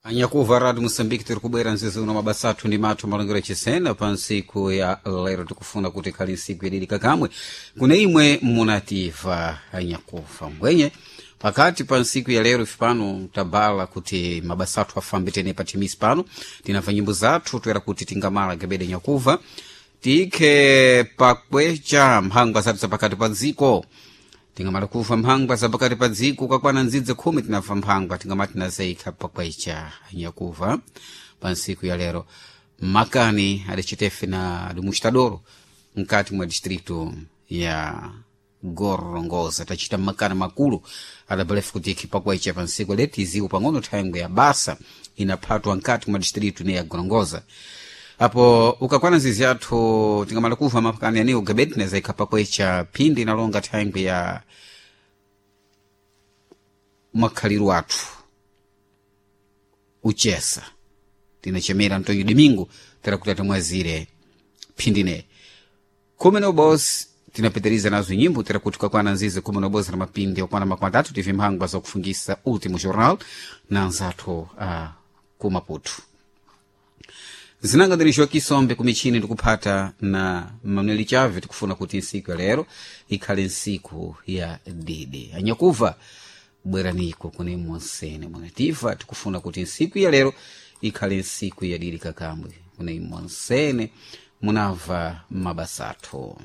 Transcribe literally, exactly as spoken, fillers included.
Anyakuva Rádio Moçambique, tiri kubwera mzizi uno mabasa athu ndi mathu malongero achisena pa ntsiku ya lero. Tikufuna kuti ikhale ntsiku yadidika kamwe kune imwe munativa anyakuva mbwenye pakati pa ntsiku ya lero. Ife pano tabala kuti mabasa athu afambe tene pa thimisi pano tinamva nyimbo zathu toera kuti tingamala gebede nyakuva tikhe pakwecha mphangwa zathu zapakati pa dziko. Tingamala kuva mphangwa zapakati pa dziko kakwana nzidze khumi tinamva mphangwa tingamati tinazeyikha pakwecha nyakuva pa ntsiku ya lero. Makani adacitefe na dimustadoro mkati mwa distrito ya Gorongosa tachita makani makulu adabalefu kuti ikhi pakwecha pa ntsiku lero tiziwo pang'ono thangwe ya basa inaphatwa mkati mwa distrito ne ya Gorongosa. Apo ukakwana nzizi yathu tingamala kuva mapakani aniwo gebedi tinazayikha pakwecha phindi inalonga thangwe ya makhaliro athu uchesa tinachemera Antonio Domingo tera kuti atimwazire phindine khumi na ubosi. Tinapitiriza nazo nyimbo tera kuti kakwana nzizi khumi na ubosi na mapindi okwana makumi atatu tive mphangwa zakufungisa Último Jornal na anzathu uh, ku Maputo. Zinanga ndiri Kisombe kumichini ndikuphata na Manuel Chave. Tikufuna kuti nsiku ya lero ikhale nsiku ya didi. Anyakuva, bweraniko kune monsene mwanativa. Tikufuna kuti nsiku ya lero ikhale nsiku ya didi kakambwe kune monsene munamva mabasathu.